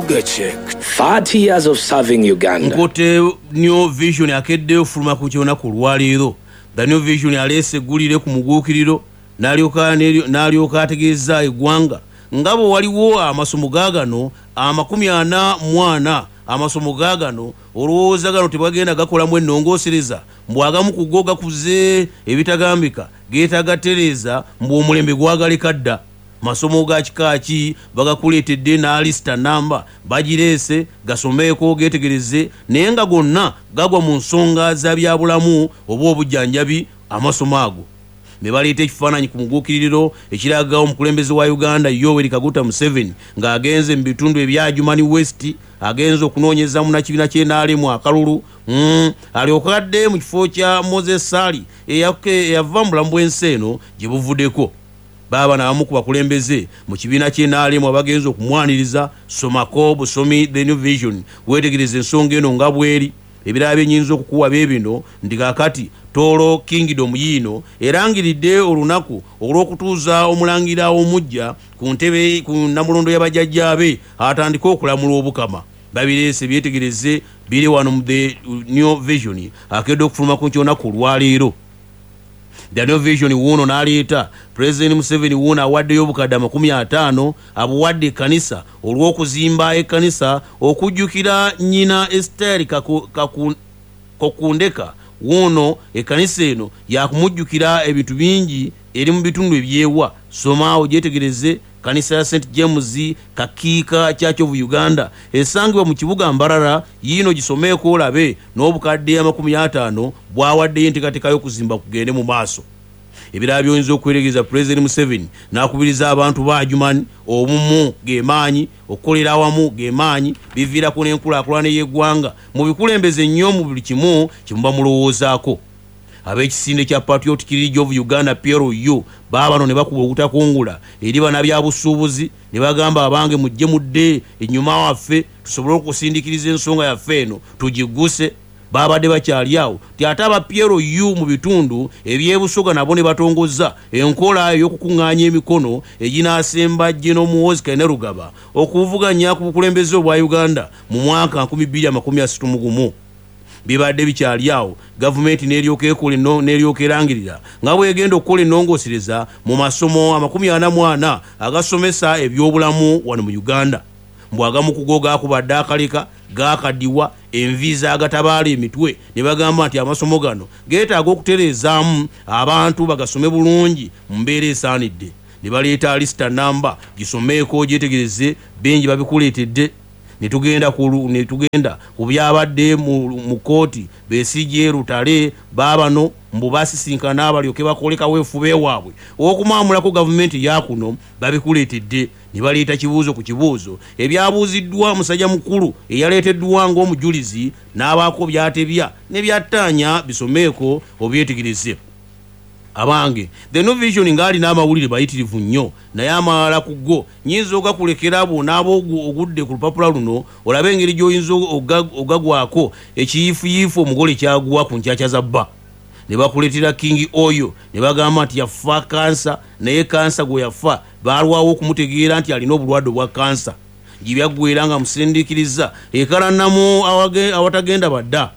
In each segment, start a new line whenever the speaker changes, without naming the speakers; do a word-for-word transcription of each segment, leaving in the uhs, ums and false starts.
Sugar Check. thirty years of serving Uganda.
Nkote New Vision akeddeyo ofuluma ku kyonaku olwaleero. The New Vision aleese eggulire ku muguukiriro n'alyoka n'alyoka ategeeza eggwanga nga bwe waliwo amasomo gaagano amakumi ana mu ana. Amasomo gaagano olowooza gano tebagenda gakolamu ennongoosereza, mbu agamu ku go gakuze ebitagambika, geetaaga tereeza, mbu omulembe gwagaleka dda. Masomo ga kika ki bagakuleetedde n'alisita namba bagireese, gasomeeko, geetegereze, naye nga gonna gagwa mu nsonga za byabulamu oba obujjanjabi. Amasomo ago ne baleeta ekifaananyi ku muguukiriro ekiraga omukulembeze wa Uganda Yoweri Kaguta Museveni ng'agenze mu bitundu ebya Adjumani West, agenze okunoonyeza munnakibiina ky'N R M akalulu, mm, alyoka adde mu kifo kya Moses Sali eyava mu bulamu bw'ensi eno gye buvuddeko. Baaba n'abamu ku bakulembeze mu kibiina ky'N R M abagenze okumwaniriza. Somako busomi The New Vision, weetegereza ensonga eno nga bweri. Ebirala byenyinza okukuwa bye bino nti kaakati Tooro Kingdom yiino erangiridde olunaku olw'okutuuza omulangira omujja ku ntebe ku namulondo y'abajjajjaabe atandike okulamula obukama. Babireese, byetegereze, biri wano mu The New Vision akedde okufuluma ku nkyonaku olwaleero. The New Vision wuuno n'aleeta Pulezidenti Museveni wuuno awaddeyo obukadde amakumi ataano, abuwadde ekkanisa olw'okuzimba ekkanisa okujjukira nnyina Esteri Kokundeka. Wuuno ekkanisa eno yakumujjukira ebintu bingi, eri mu bitundu ebyewa. Somaawo gyetegereze, kanisa ya Saint James Kakiika Church of Uganda esangibwa mu kibuga Mbarara. Yiino gisomeeko olabe n'obukadde amakumi ataano bwawaddeyo enteekateeka y'okuzimba kugende mu maaso. Ebirala byoyinza okweregereza, Pulezidenti Museveni n'akubiriza abantu ba Adjumani, obumu gemaanyi, okukolera awamu gemaanyi, biviirako n'enkulaakulana y'eggwanga, mu bikulembeze nnyo mu buli kimu kyemuba mulowoozaako. Ab'ekisinde kya Patriotic League of Uganda, P L U, baabano ne bakuba obutakungula eri bannabyabusuubuzi ne bagamba, abange mujje mudde ennyuma waffe tusobole okusindikiriza ensonga yaffe eno tugigguse. Babadde bakyali awo ti ate aba P L U mu bitundu ebyebusoga nabo ne batongoza enkola ey'okukuŋŋaanya emikono eginaasemba General Muhoozi Kainerugaba okuvuganya ku bukulembeze obwa Uganda mu mwaka nkumi bbiri makumi asatu mu gumu. Bibadde bikyali awo, gavumenti n'eryoka ekola n'eryoka erangirira nga bwegenda okukola ennongoosereza mu masomo amakumi ana mu ana agasomesa ebyobulamu wano mu Uganda, mbw agamu ku go gaakubadde akaleka gaakaddiwa, envi zaagatabaala emitwe, ne bagamba nti amasomo gano geetaaga okutereezaamu abantu bagasome bulungi mu mbeera esaanidde. Ne baleeta alisita namba, gisomeeko gyetegereze, bingi babikuleetedde. Netugenda ku netugenda ku byabadde mu, mu kooti. Besigye, Lutale baabano mbu basisinkana balyoke bakole kaweefube waabwe okumamulako gavumenti yakuno. Babikuleetedde ne baleeta kibuuzo ku kibuuzo ebyabuuziddwa musajja mukulu eyaleeteddwa ng'omujulizi n'abaako byatebya ne byattaanya. Bisomeeko obyetegereze. Abange, The New Vision ng'alina amawulire mayitirivu nnyo, naye amalala ku go nyinza ogakulekera bw'onaaba ogudde ku lupapula luno olabe engeri gy'oyinza ogagwako ekiyiifuyiifu omugole kyagwa ku nkyakya za bba. Ne bakuleetera King oyo ne bagamba nti yafa kansa, naye kansa gwe yafa baalwawo okumutegeera nti alina obulwadde obwa kansa. Gibyaggwera nga musindiikiriza ekalannamu awatagenda badda,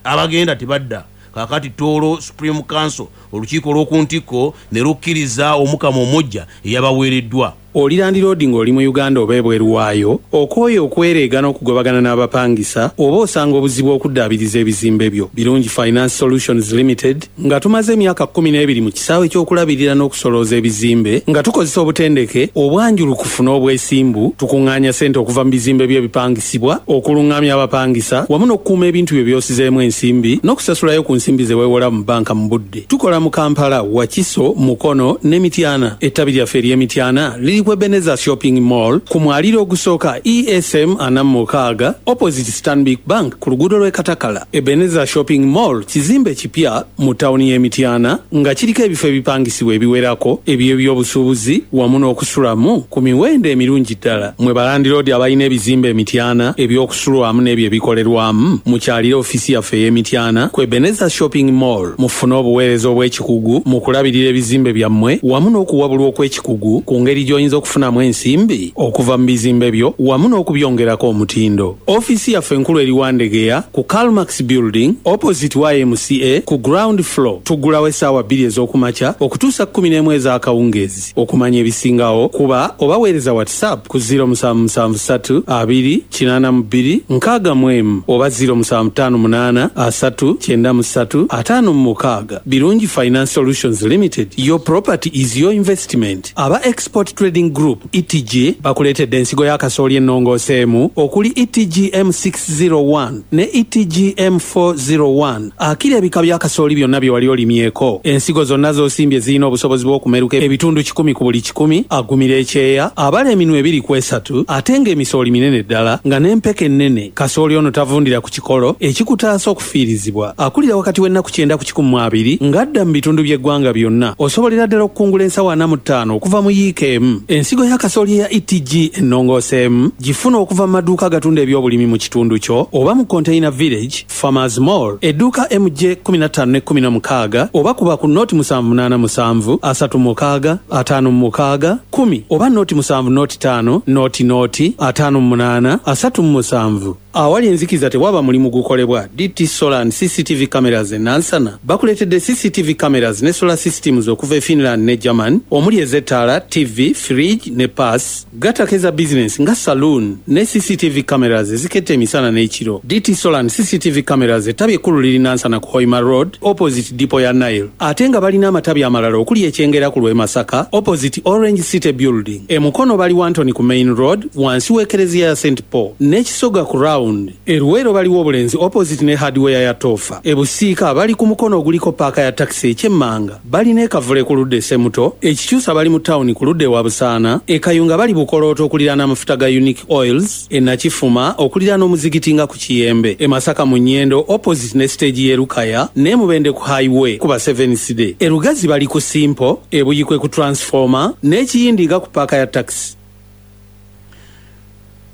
abagenda tebadda. Kakati Tooro Supreme Council, olukiiko olw'oku ntikko, ne lukkiriza omukama omujja eyabaweereddwa.
Oli landiroodi ng'oli mu Uganda oba ebweru waayo, okooye okwereega n'okugobagana n'abapangisa, oba osanga obuzibu okuddaabiriza ebizimbe byo? Birungi Finance Solutions Limited, nga tumaze emyaka kkumi n'ebiri mu kisaawe ky'okulabirira n'okusolooza ebizimbe nga tukozesa obutendeke obwanjulukufu n'obwesimbu, tukuŋŋaanya ssente okuva mu bizimbe byo ebipangisibwa, okuluŋŋamya abapangisa wamu n'okukuuma ebintu byo by'osizeemu ensimbi n'okusasulayo ku nsimbi ze weewola mu banka mu budde. Tukola mu Kampala, Wakiso, Mukono ne Mityana. Ettabi lyaffe ery'Emityana liri ku Ebeneza Shopping Mall ku mwaliro ogusooka E S M ana mu mukaaga, opposite Stanbic Bank, ku luguudo lw'e Katakala. Ebeneza Shopping Mall kizimbe kipya mu tawuni y'Emityana nga kiriko ebifo ebipangisibwa ebiwerako eby'ebyobusuubuzi wamu n'okusulamu ku miwendo emirungi ddala. Mwe balandiroodi abalina ebizimbe Emityana eby'okusulwamu n'ebyo ebikolerwamu, mukyalire ofiisi yaffe ey'Emityana ku Ebeneza Shopping Mall mufune obuweereza obw'ekikugu mu kulabirira ebizimbe byammwe wamu n'okuwabulwa okw'ekikugu ku ngeri gy'oyinza gy'oyinza okufunamu ensimbi okuva mu bizimbe byo wamu n'okubyongerako omutindo. Ofiisi yaffe enkulu eri Wandegeya ku Calmax Building opposite Y M C A ku ground floor. Tuggulawo essaawa bbiri ez'okumakya okutuusa kkumi n'emu ez'akawungeezi. Okumanya ebisingawo kuba obaweereza WhatsApp ku zero musanvu musanvu ssatu abiri kinaana mu bbiri nkaaga mu emu oba zero musanvu ttaano munaana asatu kyenda mu ssatu ataano mu mukaaga. Birungi Finance Solutions Limited, your property is your investment. Aba Export Trading Group E T G bakuleetedde ensigo ya kasooli ennongooseemu okuli E T G M six zero one ne E T G M four zero one. Akira ebika bya kasooli byonna bye wali olimyeko. Ensigo zonna z'osimbye zirina obusobozi bw'okumeruka ebitundu kikumi ku buli kikumi, agumira ekyeya, abala eminwe ebiri ku esatu, ate ng'emisooli minene ddala nga n'empeke ennene. Kasooli ono tavundira ku kikolo ekikutaasa okufiirizibwa. Akulira wakati w'ennaku kyenda ku kikumi mu abiri ng'adda mu bitundu by'eggwanga byonna. Osobolera ddala okukungula ensawo ana mu ttaano okuva mu yiika emu. Ensigo ya kasooli eya E T G ennongooseemu gifuna okuva mu maduuka agatunda ebyobulimi mu kitundu kyo oba mu Container Village, Farmers Mall, edduuka M J kkumi na ttaano ne kkumi na mukaaga oba kuba ku noti musanvu munaana musanvu asatu mukaaga ataano mukaaga kkumi oba noti musanvu noti ttaano noti noti ataano munaana asatu musanvu. Awali enzikiza tewaba mulimu gukolebwa. D T Solar and C C T V cameras e Nansana bakuleetedde C C T V cameras ne solar systems okuva e Finland ne German omuli ez'ettaala, T V, fridge ne pass. Gattako eza business nga saloon ne C C T V cameras eziketta emisana n'ekiro. D T Solar and C C T V cameras ettabi ekkulu liri Nansana ku Hoima Road opposite depot ya Nile, ate nga balina amatabi amalala okuli ekyengera ku lw'e Masaka opposite Orange City Building. E Mukono bali Wantoni ku Main Road wansi w'ekereziya ya Saint Paul n'ekisoga ku Round. Eruweero baliwo Obulenzi opposite ne hardware ya Tofa. E Busiika bali ku mukono oguliko paaka ya takisi ekyemmanga. Balina ekavule ku ludda e Semuto, ekikyusa bali mu tawuni ku ludda ewa Busaana, e Kayunga bali Bukolooto okuliraana amafuta ga Unique Oils, e Nakifuma okuliraana omuzigiti nga ku Kiyembe, e Masaka mu Nnyendo opposite ne stage y'e Lukaya ne Mubende ku highway kuba seven C D. E Lugazi bali ku Simpo, e Buyikwe ku Transformer n'Ekiyindi nga ku paaka ya takisi.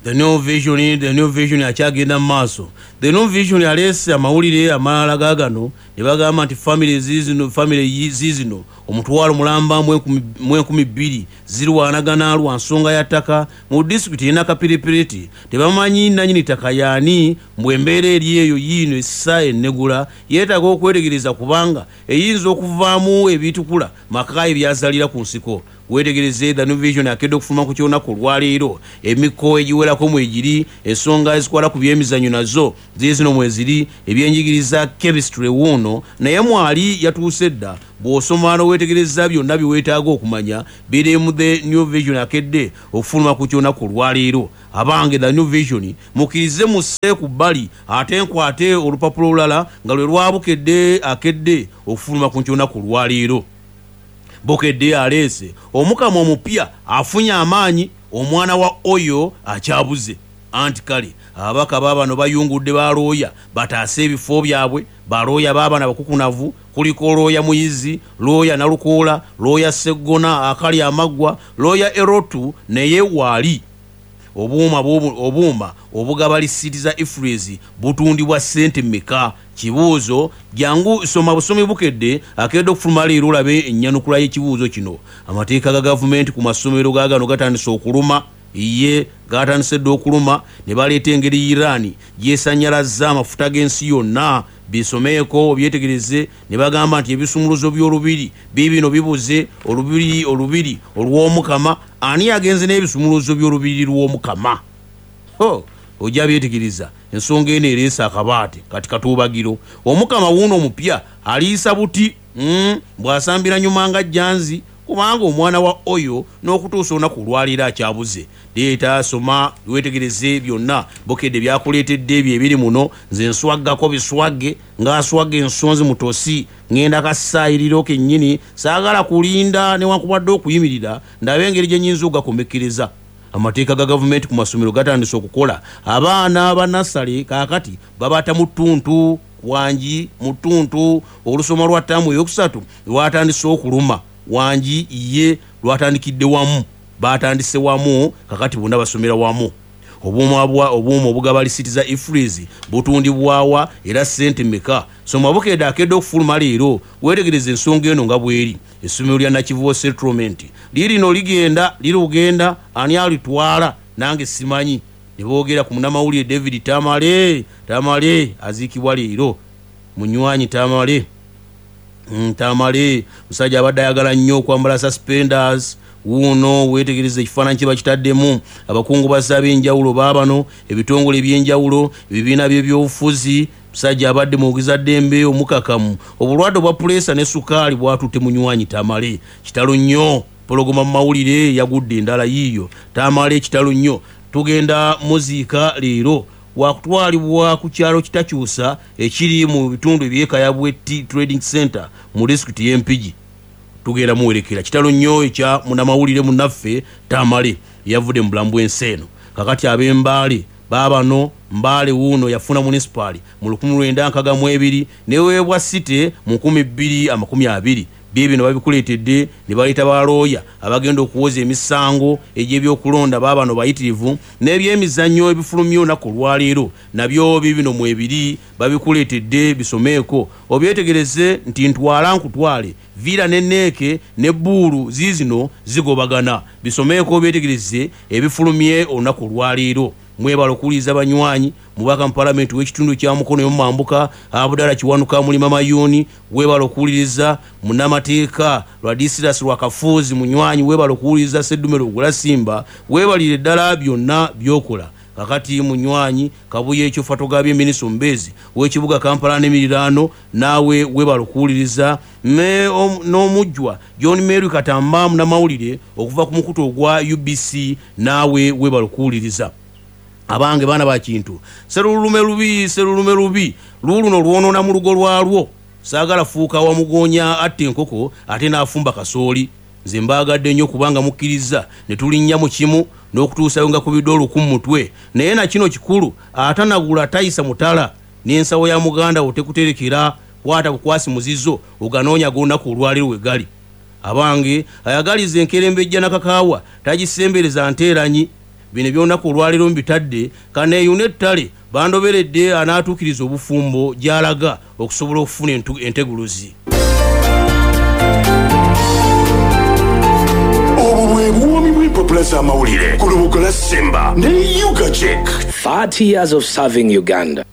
The New Vision, The New Vision akyagenda mu maaso. The New Vision aleese amawulire amalala gaagano ne bagamba nti family zizino, family zizino omutwalo mulamba mu enkumi bbiri zirwanagana lwa nsonga ya ttaka mu disitulikiti y'e Nakapiripiriti. Tebamanyi nannyini ttaka y'ani, mbwe embeera eri eyo yiino essa ennegula yeetaaga okwetegereza kubanga eyinza okuvaamu ebitukula maka ebyazaalira ku nsiko. Weetegereze The New Vision akedde okufuluma ku ky'olunaku olwaleero. Emiko egiwerako mwegiri, ensonga ezikwata ku byemizannyo nazo ziizino mweziri, ebyenjigiriza chemistry wuuno naye mwali yatuuse dda. Bw'osoma n'oweetegereza byonna bye weetaaga okumanya biri mu The New Vision akedde okufuluma ku ky'olunaku olwaleero. Abange The New Vision mukkirize musse ku bbali ate nkwate olupapula olulala nga lwe lwabukedde akedde okufuluma ku ky'olunaku olwaleero. Bukedde aleese omukama omupya afunye amaanyi, omwana wa oyo akyabuze. Anti kale ababaka baabano bayungudde balooya bataase ebifo byabwe. Balooya baabano abakukunavu kuliko looya Muyizi, looya Nalukoola, looya Sseggona akali amaggwa, looya Erotu naye waali. Obuuma obuuma obugaba lisiiti za Ifreeze butundibwa ssente mmeka? Kibuuzo jangu soma busomi Bukedde akedde okufuluma leero olabe ennyanukula y'ekibuuzo kino. Amateeka ga gavumenti ku masomero gaagano gatandise okuluma. Ye gatandise dda okuluma ne baleeta engeri Iran gy'esannyalazza amafuta g'ensi yonna. Bisomeeko obyetegereze ne bagamba nti ebisumuluzo by'olubiri biibino bibuze. Olubiri olubiri olw'Omukama, ani agenze n'ebisumuluzo by'olubiri lw'Omukama? Ho, ojja byetegereza. Ensonga eno ereese akabaate kati katuubagiro. Omukama wuuno omupya aliisa buti mm, bw'asambira nyuma nga jjanzi kubanga omwana wa oyo n'okutuusa olunaku olwaleero akyabuze. Leeta soma weetegereze byonna Bukedde byakuleetedde ebyo ebiri muno. Nze nswaggako biswagge ng'aswagga ensonzi mutosi, ŋŋenda kasaayiriro kennyini, saagala kulinda newankubadde okuyimirira ndabe engeri gye nnyinza okugakomekereza. Amateeka ga gavumenti ku masomero gatandise okukola. Abaana ba nassale kaakati babata mu ttuntu wangi mu ttuntu. Olusoma lwa ttaamu eyokusatu lwatandise okuluma wangi ye lwatandikidde wamu, batandise wamu kakati bonna basomera wamu. Obuuma bwa obuuma obugaba lisiti za EFRIS butundibwawa era ssente mmeka? Soma Bukedde akedde okufuluma leero, weetegereze ensonga eno nga bw'eri. Essomero lya Nakivubo Settlement lirino ligenda lirugenda, ani alitwala nange simanyi. Ne boogera ku munnamawulire David Tamale. Tamale aziikibwa leero. Munywanyi Tamale, mm, Tamale musajja abadde ayagala nnyo okwambala suspenders. Wuuno weetegereza ekifaananyi kye bakitaddemu. Abakungubazi ab'enjawulo baabano, ebitongole eby'enjawulo, ebibiina by'ebyobufuzi. Musajja abadde mwogeza ddembe omukakamu. Obulwadde obwa puleesa ne sukaali bwatutte munywanyi Tamale. Kitalo nnyo. Pologoma mu mawulire yagudde endala yiiyo. Tamale kitalo nnyo. Tugenda muziika leero, wakutwalibwa ku kyalo Kitakyusa ekiri mu bitundu eby'e Tea Trading Center mu disitulikiti y'e Mpigi. Tugenda muwerekera. Kitalo nnyo ekya munnamawulire munnaffe Tamale yavudde mu bulamu bw'ensi eno. Kakati ab'Embaale baabano, Mbaale wuuno yafuna munisipaali mu lukumi lwenda nkaaga mu ebiri neweebwa site mu nkumi bbiri amakumi abiri. Bye bino babikuleetedde ne baleeta balooya abagenda okuwoza emisango egy'ebyokulonda. Baabano bayitirivu. N'ebyemizannyo ebifulumya olunaku olwaleero nabyo bibino mwebiri, babikuleetedde, bisomeeko obyetegereze nti ntwala nkutwale. Villa ne N E C ne Bbuulu ziizino zigobagana. Bisomeeko obyetegereze ebifulumye olunaku olwaleero. Mwebala okuwuliriza banywanyi. Mubaka mu palamenti w'ekitundu kya Mukono y'omumambuka Abudala Kiwanuka Mulima Mayuuni, weebala okuwuliriza. Munnamateeka Lwadisiras Lwakafuuzi munywanyi, weebala okuwuliriza. Seddumero Ogula Simba, weebalire ddala byonna by'okola. Kakati munywanyi Kabuye ekyo Fatogabye, minisita omubeezi w'ekibuga Kampala n'emiriraano, naawe weebala okuwuliriza. N'omujjwa John Mary Katamba, munnamawulire okuva ku mukutu ogwa U B C, naawe weebala okuwuliriza. Abange baana ba kintu, serulume lubi, serulume lubi luuluno lwonoona mu lugo lwalwo. Saagala fuuka wamugonya atta enkoko ate n'afumba kasooli. Nze mbaagadde nnyo kubanga mukkiriza ne tulinnya mu kimu n'okutuusayo nga kubidde oluku mu mutwe. Naye na kino kikulu, atanagula tayisa mutala, n'ensawo ya muganda wo tekuterekera. Kwata bukwasi muzizo oganoonya g'olunaku olwaleero we gali. Abange, ayagaliza enkerembejja nakakaawa tagisembereza nteeranyi. Bino ebyolunaku olwaleero mbitadde kaneeyuna ettale. Bandoberedde anaatuukiriza obufumbo gy'alaga okusobola okufuna enteguluzi.
Obwo bwe buwoomi bw'empapula z'amawulire ku Lubugo lwa Simba ne Ugachek.
thirty years of serving Uganda.